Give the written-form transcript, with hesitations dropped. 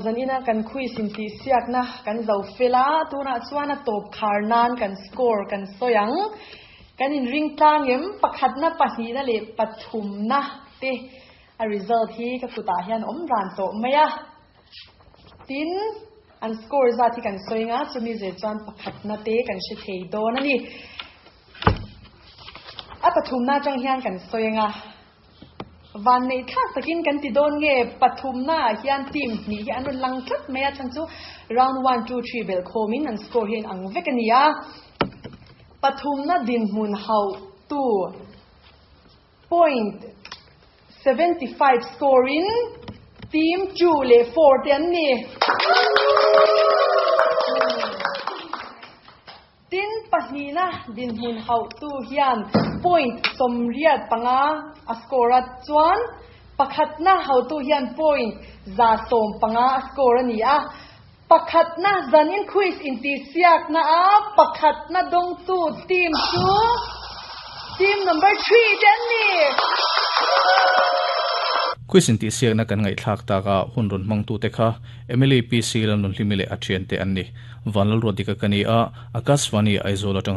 Zanina kan quiz intihsiakna kan zo fel a, tunah chuan a tawp khar nan kan score kan sawi ang. Kan inring tlang em? Pakhatna, pahnihna leh pathumna te a result hi ka kutah hian awm ran tawh mai a. Tin, an score zat hi kan sawi anga, chumi zir chuan pakhatna te kan hre thei dawn a ni. A pathumna atang hian kan sawi anga, vanneih thlak takin kan ti dawn nge pathumna ah hian team hnih hi an rawn lang tlat mai a, chhan chu round one, two, three belh khawmin an score hi a inang vek a ni a. Pathumna dinhmun hauhtu Point 75 score in team 2 leh 4 te an ni. Tin, pahnihna dinhmun hauhtu hian point 85 a score a, chuan pakhatna hauhtu hian point 115 a score a ni a. Pakhatna zanin quiz intihsiakna a pakhatna dawngtu team chu team number three te an ni. Quiz intihsiakna kan ngaihthlak tak a hun rawn hmangtute kha Emily PC Lalnunhlimi leh a thiante an ni. Vanlalruatdika ka ni a, Akashvani Aizawl atanga.